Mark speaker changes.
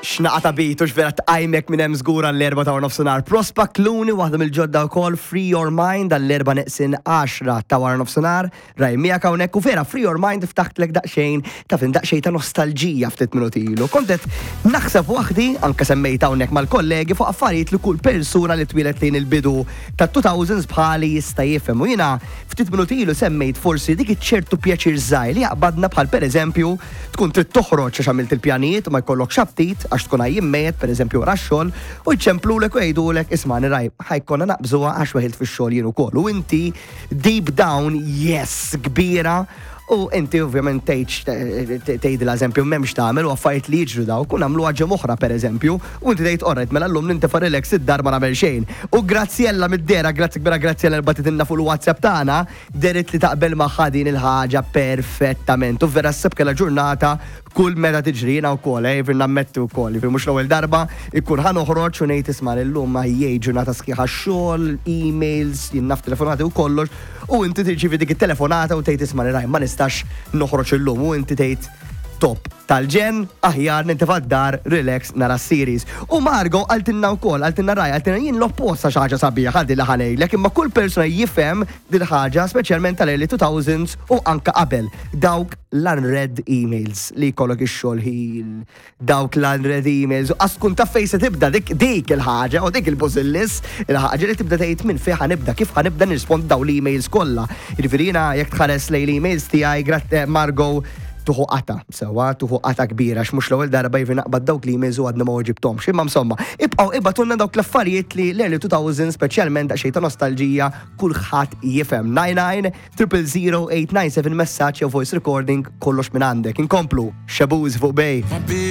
Speaker 1: X'naqa ta' beat u x'vera tqajmek minn hemm żgur għall-4 ta' nofsinhar. Prospa Clooney waħda mill-ġodda wkoll Free Your Mind għall-4 neqsin 10 ta' wara nofsinhar. Raj miegħek hawnhekk u vera Free Your Mind ftaħtlek daqsxejn ta' fin daqsxejn ta' nostalġija ftit minuti ilu. Kont qed naħseb waħdi anke semmejt hawnhekk mal-kollegi fuq affarijiet li kull persuna li twieled lejn il-bidu ta' 2000s bħali jista' jifhem. U jiena ftit minuti ilu semmejt forsi dik iċ-ċertu pjaċir żgħir li jaqbadna bħal pereżempju Tkun trid toħroġ għax għamilt il-pjanijiet u ma jkollokx aptit għax tkun għajjien mejjet, pereżempju wara x-xogħol, u jċemplulek u jgħidulek ismagħni raj, ħa jkollna naqbżuha għax weħilt fix-xogħol jien ukoll. U inti deep down yes kbira u inti ovvjament tgħidx tgħidilha eżempju m'hemmx tagħmel u affarijiet li jiġru dawk u nagħmluha ġimgħa oħra pereżempju u inti tgħid orrajt mela llum nintefa' relax id-dar ma nagħmel xejn. U Graziella mid-dehra, grazzi kbira Graziella li bagħtitilna fuq il-WhatsApp tagħna, Dehret li taqbel magħha din il-ħaġa perfettament. U vera ssib kellha ġurnata kull meta tiġri jiena wkoll, eh, jiġifieri nammetti wkoll, jiġifieri mhux l-ewwel darba ikun ħa noħroġ u ngħid isma' illum ma jgħid ġurnata sħiħa xogħol, emails, jien naf telefonati u kollox, u inti tirċievi dik it-telefonata u tgħid isma' raj ma nistax noħroġ illum u inti tgħid top tal-ġenn, aħjar nintefa' d-dar, relax, nara s-series. U Margo qaltilna wkoll, qaltilna Raj, qaltilna jien l-oppost għax ħaġa sabiħa din li ħa ngħidlek, imma kull persuna jifhem dil-ħaġa, speċjalment tal-early 2000s u anke qabel. Dawk l-unread emails li jkollok ix-xogħol ħin, dawk l-unread emails, u qas tkun taf fejn se tibda dik dik il-ħaġa u dik il-bużillis, il-ħaġa li tibda tgħid minn fejn ħa nibda, kif ħa nibda nirrispondi dawn l-emails kollha. Jiġifieri jiena jekk tħares lejn l-emails tiegħi, Margo, tuħu qata, sewwa, tuħu qata kbira, għax mhux l-ewwel darba jiġifieri naqbad dawk l-emails u għadni ma weġibthomx. Imma insomma, ibqgħu ibgħatulna dawk l-affarijiet li l-early 2000 speċjalment daqsxejn ta' nostalġija kulħadd jifhem. 99 000 897 messaġġ jew voice recording kollox minn għandek. Inkomplu, Shaboozey fuq Bay.